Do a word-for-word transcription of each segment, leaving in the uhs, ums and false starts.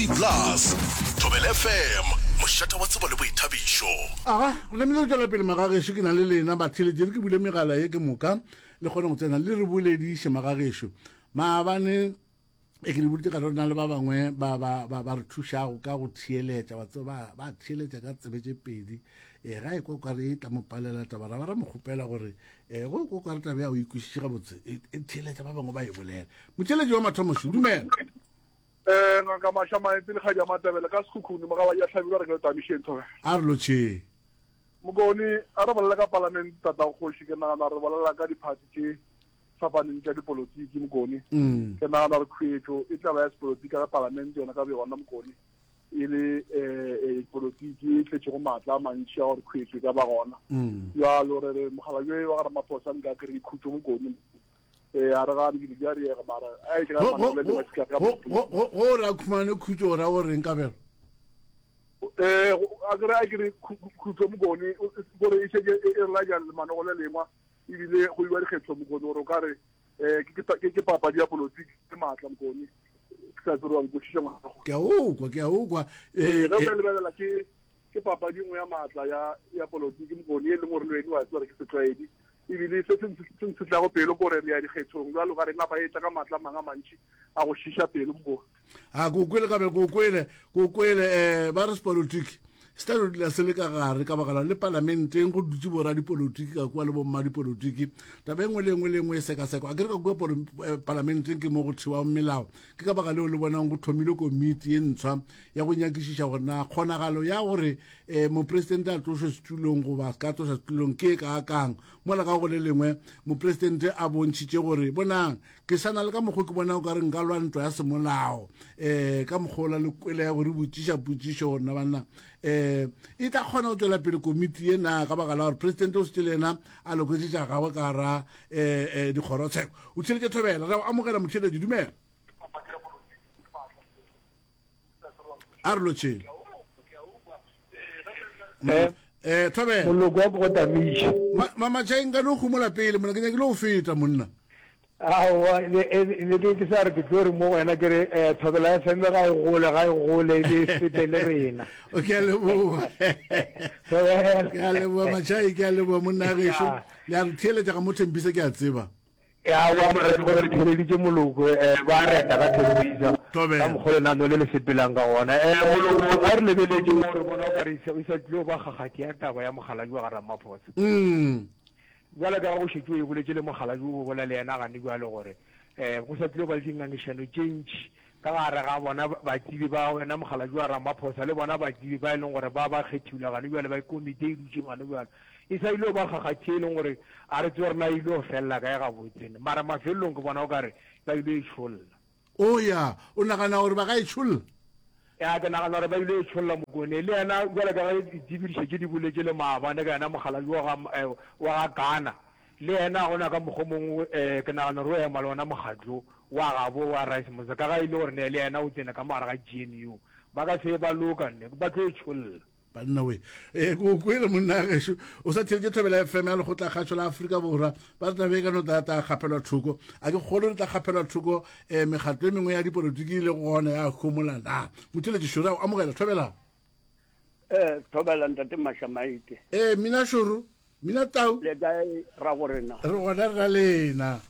S A B C Plus. Thobela F M, mošate wa tsebo le boithabišo. Aga, go namile go tšwela pele magagešo, ke na le lena batheeletši, re ke bule megala ye ke moka le kgone go tsena le re bolediše magagešo. Maabane e ke le boditše ka re na le ba bangwe ba ba ba ba re thušago ka go theeletša, wa tseba ba theeletša ka tsebe tše pedi. E ga e kwa ka re e tla mo palela taba, ra ba ra mo kgopela gore e go kwa ka re taba ya o ikwešiše gabotse, e e theeletša ba bangwe ba e bolela. Motheeletši wa mathomo šo, dumela. Eh ngaka Masha Maetse le Kgaja Matabele ka Sekhukhune mogala ya hlabirwa re ke le tamišeng thobe. A re lotšheng. Mokone a re bolela ka parliament tata kgoši, ke nagana re bolela ka diphathi tše fapaneng tša dipolotiki mokone. Mm. Ke nagana re khuetšo e tla ba ya sepolotiki ka parliament yona ka yona mokone, e le eh polotiki e tletšego maatla a mantši a gore khuetšo e ka ba gona. Mm. Jalo re re mogala yo wa ga Ramaphosa nka kry khutšo mokone. Eh a re ga dilo di a riega mara a e ka Go- go- manole le masika ka go- go go- go re a khumane khutšo o ra go reng kabelo? Eh a kere a kere khutšo mokone gore e šetše e re laja lemanogo le lengwa, ebile go iwa dikgetho mokone gore o ka re eh ke ke ke papadi ya polotiki ke maatla mokone. Ke sa tsebe gore wa nkwešiša ngwana. Ke a o kwa, ke a o kwa. Eh Eh, ge o eh, ka lebelela ke ke papadi nngwe ya maatla ya ya polotiki mokone, e leng gore le wena wa tseba gore ke setlwaedi, ebile se se se ntshitlago pelo ke gore re ya dikgethong jalo ka re napa e tla ka maatla a mangwe a mantši a go šiša pelo mokone. A ko kwele kabelo, ko kwele, ko kwele. um ba re sepolotiki se tla no dula se le ka gare ka baka la le palamenteng go dutše boradipolotiki ka kua le bommadipolotiki. Taba e nngwe le nngwe le nngwe e sekasekwa a ke re ka kua polo- eh, palamenteng ke mo go thewago melao. Ke ka baka leo le bonang go thomile komiti ye ntshwa ya go nyakišiša gore na kgonagalo ya gore um mopresidente a tlošwe setulong goba ka tlošwa setulong ke e kaakang. Mola ka go le lengwe mopresidente a bontšhitše gore bonang ke sa na le ka mokgwa ke bona o ka re nka lwa ntwa ya semolao um ka mokgwa ola le kwele ya gore botšiša potšišo gore na banna um e tla kgona go tswela pele komiti ye na, ka baka la gore presidente o setse le yena a loketše tša gagwe ka gara um dikgorotsheko. O theletše Thobela, re go amogela motheletši, dumela. A re lotšheng. Eh, um Thobela. Moloko wa go tamiša. Mamatšhaeng nka no gomola pele mona, ke nyakile go feta monna. Aowa, ne e- ne ke ke sa re ke tlo re mo go wena ke re eh, Thobela F M ga e gole, ga e gole e be e fete le rena. O ke a leboga. Thobela. Ke a leboga Matšhai, ke a leboga monna gešo. Ya. Le a re theeletša ga mo Thembisa, ke a tseba. Aowa mara ke gore re theeleditše moloko, eh, ba reta ka Thembisa Thobela. ka mokgwa lenaneo le le sepelang ka gona. Eh, moloko ga re lebeletše mo re bona o ka re e sa e sa tlile go ba kgakgathi ya taba ya mokgalabje wa ga Ramaphosa. Mm. Bjalo ka ge go šetše o e boletše le mokgalabje o bolela le yena gane bjalo gore um go sa tlile ba le dingangišano tše ntši ka gare ga bona batsebi ba wena mokgalabje wa Ramaphosa le bona batsebi ba e leng gore ba ba kgethilwe gane bjale ba komiti e dutšeng gane bjalo e sa ile go ba kgakgathi e leng gore a re tsebe gore na e ile go felela kae gabotse, mara mafelelong ke bona o ka re ba ile e tšholla. O ya o nagana gore ba ka e tšholla? Ya, ke nagana gore ba ile e tšholla mokone le yena bjalo ka ge ditsebidišo tše di boletše le maabane ka yena mokgalabje wa ga eh, wa ga Ghana, le yena gona ka mokgwa o mongwe um ke nagana gore o ema le ona mokgatlo wa gabo wa Rice Motse ka ga e le gore ne le yena o tsene ka mogare ga G N U, ba ka se ba loka nne ba tlo e tšholla. Banna we, e ko kwele monna gešo. O sa theletše Thobela F M ya lekgotlakgašo la Afrika Borwa. Ba re taba e ka no tla tla kgaphelwa thoko, a ke kgolo re tla kgaphelwa thoko um mekgatlo e mengwe ya dipolotiki e le gona ya homola na. Motheletši šoro, a o amogela Thobela. Eh Thobela ntate Mashamaite. Ee, mina šoro, mina tau. Le kae ra go rena? Re gona re na lena.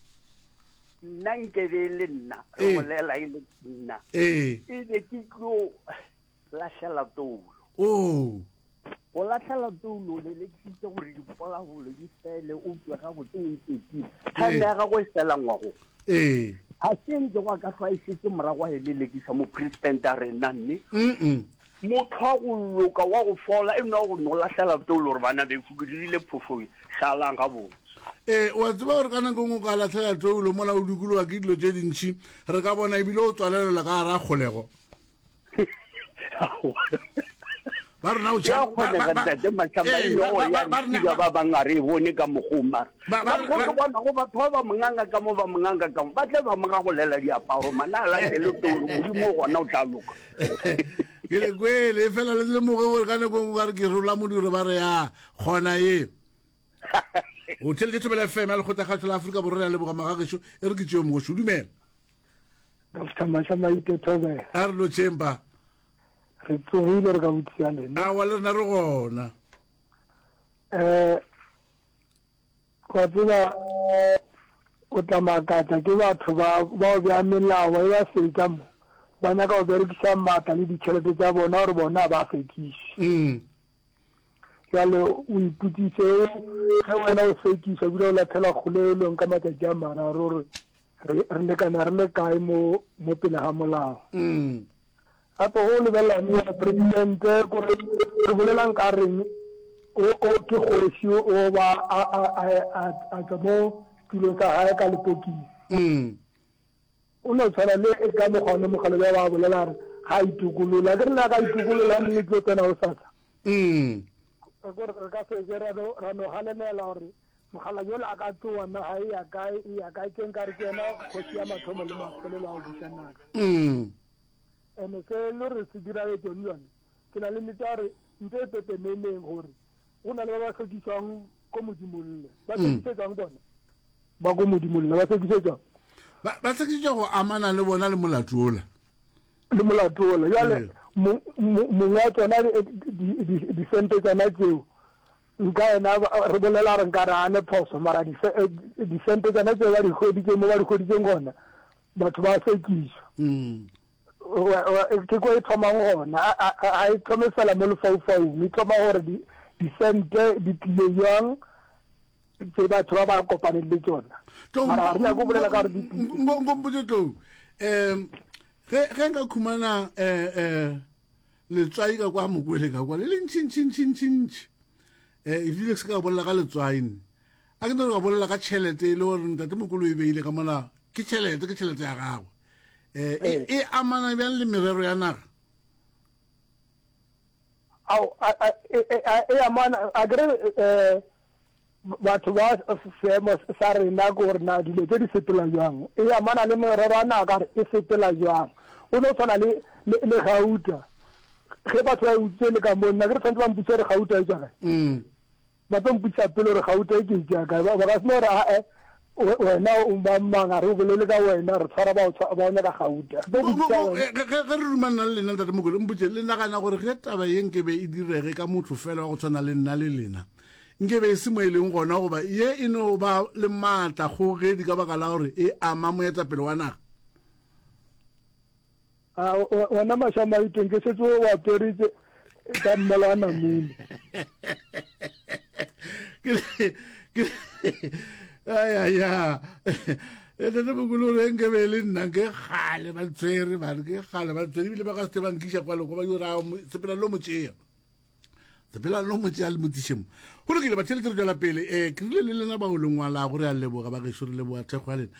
Nna nke be le nna re Ee. bolela e le nna. Ee. E be ke tlo lahlela toulo. O. Go lahlela toulo le lekisitse gore dipolabolo di fele, o tswe gabotse o iketlile. Time ya gago e fela ngwago. Ee. Ga se ntse go ka hlwa e šetše morago a e lelekisa mopresidente a rena nne. Mm. Motho wa go loka wa go fola e nwa go no lahlela toulo gore bana beso ke dirile phošo, šalang gabotse. Ee, wa tseba gore ka nako e nngwe o ka lahlela toulo mola o dikologa ke dilo tše dintšhi, re ka bona ebile o tswalelelwa ka gare ga kgolego. Ba rena o Ya tšha- ba- kgonega ba- ba- ntate Mashamba, Ee, e ba- le gore ba- ya ba- ba rena- nthiba ba bang a re e bone ka mokgwa mara. Ba- ba- Ka mokgwa ke ba- bona go batho ba ba monganga ka mo, ba monganga ka mo, ba tle ba mo gagolela diaparo, mana a latele toulo, Modimo gona o tla loka. Ke le kwele, e fela le lemoge gore ka nako e nngwe ka re ke rola modiro ba re ya kgona ye. O theletše Thobela F M ya lekgotlakgašo la Afrika Borwa, re a leboga magagešo, e re ke tšeo mogošo, dumela. Doctor Mashamaite Thobela. A re lotšheng pa. Re tsogile re ka botšiša lena. Aowa le rena re gona. Eh wa tseba o tla makatša ke batho ba bao bea melao e ba fetša mo ba nyaka go berekiša maatla le ditšhelete tša bona gore bona ba sekiše. Mm. Jale o ipotšiše ge wena o sekiša ebile o latlhelwa kgolegelong ka matšatši a mararo gore re re lekana re le kae mo mo pele ga molao. Mm. Gape go lebelela yena presidente kore re bolelang ka reng o o ke kgoši o ba a a a a a tšwa mo setulong sa gae ka lepokisi. Mm. O no tshwana le e ka mokgwa one mokgalabje ba bolela re ga a itokolola. Ke re le a ka itokolola nne tlo tsena go sasa. Mm. Gore re ka se ke ra no ra no galemela gore mokgalabje yola a ka tsoa naga e ya kae e ya kae ke nkare ke yena kgoši ya mathomo le mafelelo a go buša naga. Mm. Ene se le re se diragetšeng yone ke na le nnete ya gore ntho e pepeneneng gore go na le ba ba hlokišwang ko Modimolle. Ba hlokišetšwang bona? Ba ko Modimolle ba hlokišetšwang? Ba ba hlokišetšwa go amana le bona le molato ola. Le molato ola. Jale mongwe wa tsona disente tsona tseo nka yena re bolela gore nka re a ne phoso mara disente tsona tseo ba di hweditseng mo ba di hweditseng gona batho ba sekišwa. Mm. Ke ko e thomang gona ga e thome fela mo lefaufaung e thoma gore disente di tlile jwang tse batho ba ba kopaneng le tsona mara ga re nyake go bolela ka gore di tlile. Nkompotše Tlou um ge ge nka khumana um letswai ka kwa mokwele ka kwa le le ntšhintšhintšhintšhintšhi um ebile se ka bolela ka letswai nne a ke no ka bolela ka tšhelete e le gore ntate mokolo e beile ka mola ke tšhelete ke tšhelete ya gagwe um e amana bjang le merero ya naga? Ao e amana a kere um batho ba seemo sa rena ke gore na dilo tse di sepela jwang e amana le merero ya naga gore e sepela jwang o no tshwana le le gauta ge batho ba e utswitse le ka mo nna ke re tshwanetse ba mpotse gore gauta e tswa kae. Mm. Ba tlo mpotšiša pele gore gauta e ke e tšea kae ba ka se no re ae wena o mang mang a re bolele ka wena re tshwara ba o nyaka gauta. Ge re ruma nna le lena ntate Mokwele mpotše le nagana gore ge taba ye nkebe e direge ka motho fela wa go tshwana le nna le lena nkebe e se mo e leng gona goba ye e no ba le maatla kgogedi ka baka la gore e ama moetapele wa naga? A wena Mašamaiteng ke šetše o apere ka mmala wa namune. Ayaya ntate Mokolo gore nke be le nna ke kgale ba tshwere bane ke kgale ba tshwere ebile ba ka se ba nkiša kwa loko ba yo ra sepela lo mo tšea sepela lo mo tšea le mo tiše mo. Go lokile batheeletši re tšwela pele um ke rile le lena bao le ngwalago re a leboga ba gešo re leboga thekgo ya lena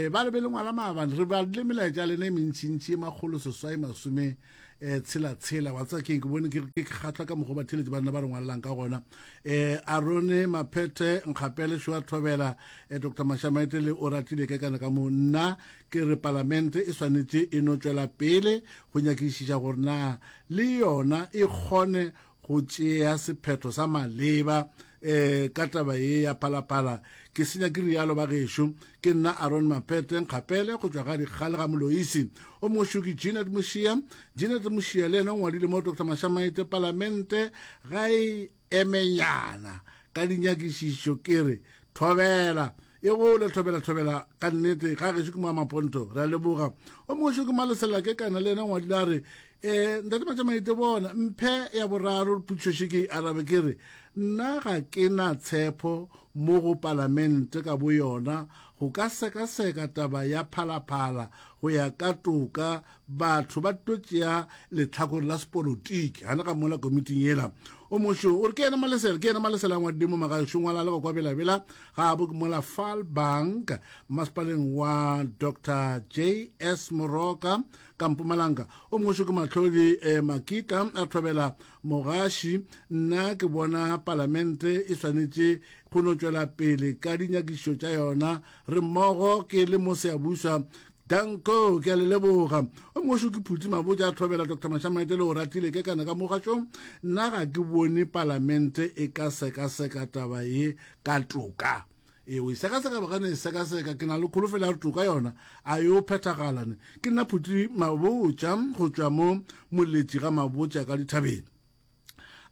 um ba re be le ngwala maabane re badile melaetša ya lena e mentšintši e makgolo seswai masome um tshela tshela wa tseba keng ke bone ke ke kgahlwa ka mokgwa batheeletši ba nna ba re ngwalelang ka gona um Arone Maphethe Nkgapele Šoa Thobela um Doctor Mashamaite le o ratile ke kana ka mo nna ke re palamente e swanetše e no tšwela pele go nyakišiša gore na le yona e kgone go tšea sephetho sa maleba um ka taba ye ya Phalaphala. Ke senya ke rialo ba gešo. Ke nna Aaron Mapete Nkgapele go tšwa ga Dikgale ga Moloisi. O mongwe ke Jeanette Mošia. Jeanette Mošia le yena o ngwadile mo Doctor Mashamaite Palamente ga e emenyana ka dinyakišišo ke re thobela e gole thobela thobela ka nnete ga gešo ke mo Maponto re a leboga. O mongwe ke Malesela ke kana le yena o ngwadile a re um ntate Mashamaite bona mphe ya boraro potšišo ke e arabe ke re nna ga ke na tshepo mo go palamente ka bo yona go ka sekaseka taba ya Phalaphala go ya ka toka batho ba tlo tšea lehlakore la sepolotiki gana ga mola komiting yela. O mošo o re ke yena Malesela ke yena Malesela a ngwadile mo magašo ngwala le kwa Belabela ga bo ke mola Falbank masepaleng wa Doctor J S Moroka ka Mpumalanga. O mošo ke Mahlodi eh, Makita a thobela mogaši nna ke bona palamente e swanetše go no tšwela pele ka dinyakišišo tša yona re mmogo ke le mo Seabuswa Danko ke a le leboga. O mošo ke Phuti Mabotja a thobela Doctor Mashamaite le o ratile ke kana ka mogašong nna ga ke bone palamente e ka sekaseka taba ye ka toka. E o e sekaseka ba gane e sekaseka, ke na le kholofelo ya gore toka yona a yo phethagala ne. Ke nna Phuti Mabotja go tšwa mo Moletši ga Mabotja ka dithabeng.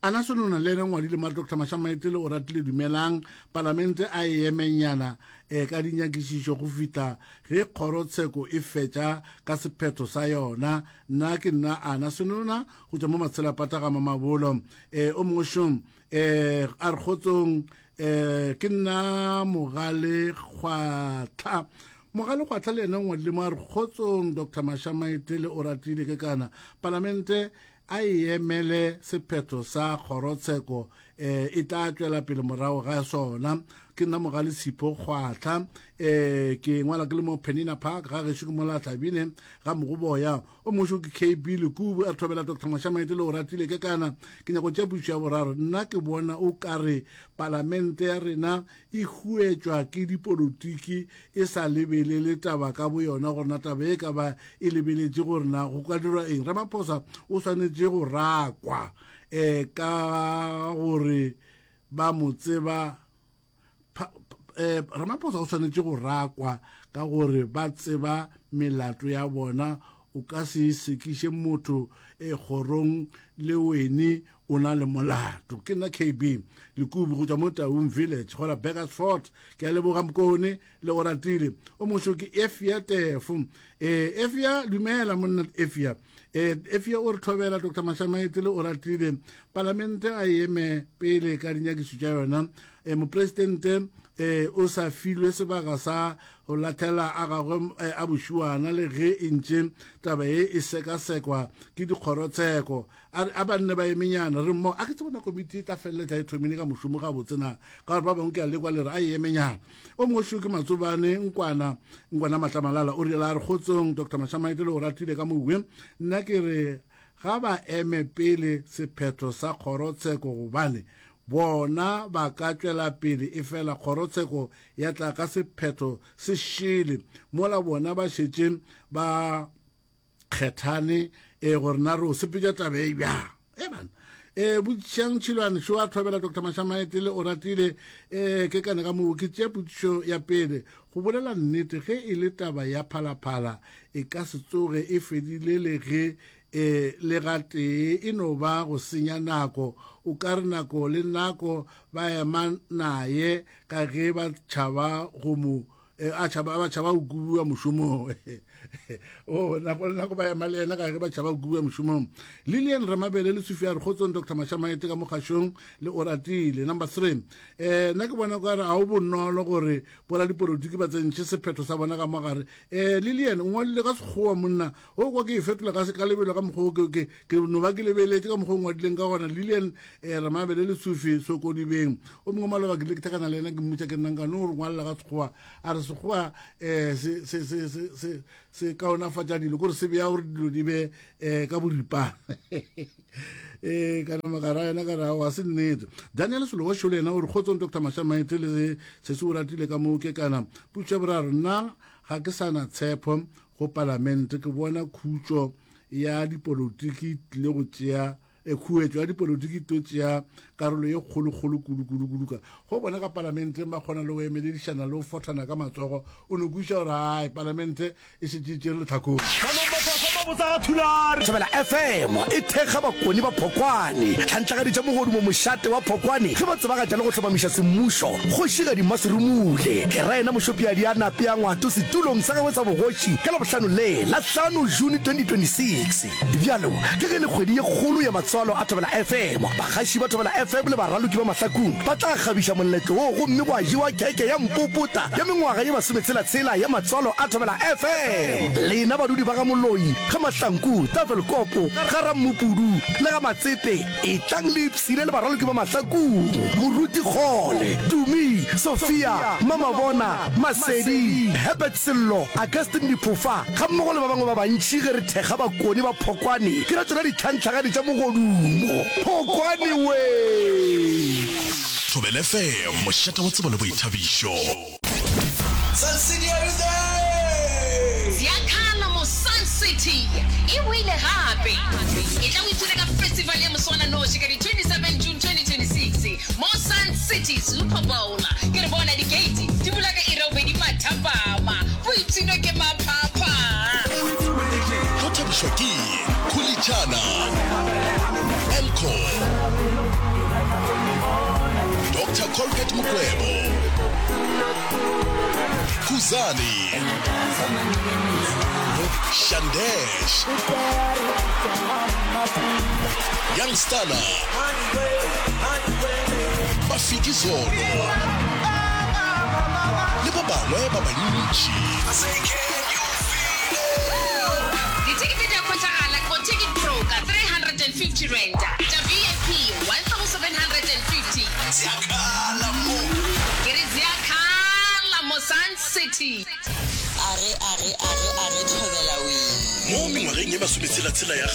Ana Sonona le yena ngwadile mare Doctor Mashamaetele o ratile dumelang palamente a e emenyana e ka dinyakišišo go fihla ge kgorotsheko e fetša ka sephetho sa yona. Nna ke nna Ana Sonona go tšwa mo Matshelapata ga Mamabolo. E o mongwe šong e a re kgotsong e ke nna Mogale Kgwatlha. Mogale Kgwatlha le yena ngwadile mo a re kgotsong Doctor Mashamaetele o ratile ke kana palamente a e emele sephetho sa kgorotsheko eh, e tla tšwela pele morago ga sona. Ke nna Mogale Sipho Kgwatlha eh, ke ngwala ke le mo Penina Park ga gešo ke mola Tlabine ga Mogoboya. O mošo ke K B Lekubu a re thobela Doctor Mashamaetele o ratile ke kana ke nyako tša pušo ya boraro. Nna ke bona o ka re palamente ya rena e huetšwa ke dipolotiki e sa lebelele taba ka boyona gore na taba e ka ba e lebeletše gore na go ka dirwa eng. Ramaphosa o swanetše go rakwa eh, ka gore ba mo tseba eh, Ramaphosa o swanetše go rakwa ka gore ba tseba melato ya bona. O ka se sekiše motho e kgorong le wene o na le molato. Ke nna K B Lekubu go tšwa mo Taung Village go la Burgersfort. Ke a leboga Mokone le go ratile. O mošo ke Efia Tefo. Eh, Efia dumela monna Efia. Eh, Efia o re thobela Doctor Mashamaetele o ratile. Palamente a eme pele ka dinyakišo tša yona. Eh, mopresidente eh, o sa filwe sebaka sa go lathela a gagwe eh, a bošuana le ge e ntše taba ye e sekasekwa ke dikgorotsheko. A, a banne ba emenyana re mmo a ke tsebona komiti e tla feleletša e thomile ka mošomo gabotse na, ka gore ba bangwe ke a lekwa le re a e emenyana. O mongwe šo ke Matsobane Nkwana, Nkwana Matlamalala o rile a re kgotsong Doctor Mashamaetele o ratile ka mowe. Nna ke re ga ba eme pele sephetho sa kgorotsheko gobane bona ba ka tšwela pele e fela kgorotsheko ya tla ka sephetho se šele mola bona ba šetše ba kgethane e gore na re o sepetša taba e bjang. E bana e botšišang Tšhilwane šo a thobela Doctor Mashamaetele o ratile e ke kana ka moo ke tšea potšišo ya pele. Go bolela nnete ge e le taba ya Phalaphala e ka se tsoge e fedile le ge e le gatee e no ba go senya nako. O ka re nako le nako ba ema naye ka ge ba tšhaba go mo a tšhaba ba tšhaba go kubiwa mošomong. O nako le nako ba ema le yena ka ge ba tšhaba go kubiwa mošomong. Lilian Ramabele le Sofia re kgotsong Doctor Mashamaete ka mokgašong le o ratile. Number three eh nna ke bona ka re a o bonolo gore boradipolotiki ba tsentšhe sephetho sa bona ka mogare. Eh Lilian o ngwadile ka sekgowa monna o kwa ke e fetola ka ka lebelo ka mokgwa ke ke ke no ba ke lebeletše ka mokgwa o ngwadileng ka gona. Lilian eh Ramabele le Sophie Sokodibeng o mongwe maloba ke le ke thakana le yena ke mmotša ke nnang ka no re ngwalela ka sekgowa a re sekgowa eh se se se se se se kaonafatša dilo kore se beya gore dilo di be eh ka boripana. Eh kana magara yena ka ra wa se nnete. Daniel Solowa Shole yena o re kgotsong Doctor Mashamaete le se se o ratile ka moo ke kana potšo ya boraro. Nna ga ke sana tshepo go palamente, ke bona khutšo ya dipolotiki tlile go tšea e khuetšo ya dipolotiki to tšea karolo ye kgolokgolo kudu kudu kudu ka go bona ka palamenteng ba kgona le go emeledišana le go fothana ka matsogo. O no kweša gore ai palamente e šetše e tšere lehlakore. Thobela F M e thekga Bakoni ba Phokwane, tlhantlagaditša mogodumo mošate wa Phokwane ge ba tsebagatša le go hlomamiša semmušo Kgošigadi Maserumule ke ra yena Mošopiadi a nape a ngwato setulong sa gagwe sa bogoši ka Labohlano le la hlano June twenty twenty-six. Bjalo ke ge le kgwedi ye kgolo ya matswalo a Thobela F M, bagaši ba Thobela F M le baraloki ba Mahlakung ba tla kgabiša moletlo wo gomme gwa jewa keke ya mpopota ya mengwaga ye masometshela-tshela ya matswalo a Thobela F M. Lena badudi ba ga Moloi, ga Mahlanku, Tafelkopo, ga Rammupudu le ga Matsepe, etlang le ipshine le baraloki ba Mahlakung, Moruti Kgole, Tumi, Sophia, Mamabona, Masedi, Herbert Sello, Augustine Diphofa gammogo le ba bangwe ba bantši ge re thekga Bakoni ba Phokwane ke ra tšona ditlhantlhagadi tša mogodumo. Phokwane wee! Thobela F M, mošate wa tsebo le boithabišo. Sun City, are you there? Ziakhala mo Sun City e boile gape. E tla o ipshine ka festival ya moswananoši ka di twenty-seven June twenty twenty-six mo Sun City Super Bowl. Ke re bona di-gate di Encore, Doctor Colbert Mukwevho, Khuzani, Shandesh, Young Stunna, Mafikizolo le ba bangwe ba bantši. Dithekete di a hwetšagala go Ticket Pro ka three hundred and fifty rand, tša V I P one thousand seven hundred and fifty. Ziakhala mo. Ke re ziakhala mo Sun City. Are, are, are, are, thobela wee. Mo mengwageng ye masometshela-tshela ya kgale,